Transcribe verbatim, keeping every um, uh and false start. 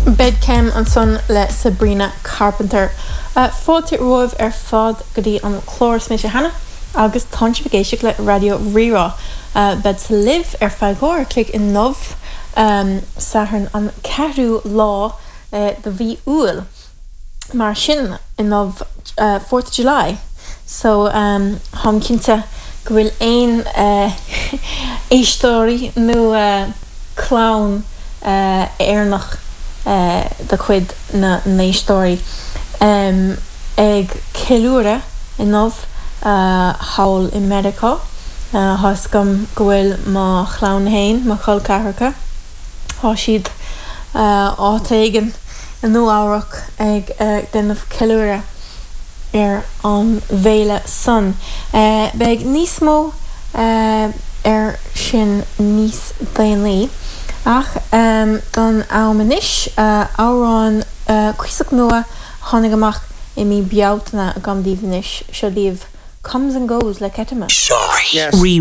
Bed Chem ansan le Sabrina Carpenter. Uh, Fáilte romhaibh ar fad go dtí an clár is mise Hannah agus tá sibh ag éisteacht le Raidió Rí-Rá. Uh, Bead libh ar feadh uair an chloig inniu um, Satharn an ceathrú lá uh, de mhí Iúil. Mar sin inniu uh, fourth of July. So um, táim cinnte go bhfuil aon uh, éisteoirí nó uh, clann uh, Éireannach uh, de chuid na n-éisteoirí um, ag ceiliúradh inniu uh, thall i Meiriceá. Uh, Tá gom go bhfuil mo chlann féin mo chol ceathracha. Tá siad uh, áit éigin i Nua-Eabhrac ag uh, déanamh ceiliúradh ar an bhféile san. Uh, Beidh níos mó uh, ar sin níos déanaí. Ach um, don am anois uh, amhrán uh, cuíosach nua tháinig amach i mí Bealtaine agam daoibh anois seo daoibh Comes and Goes le Ketama. Sorry. Yes. Re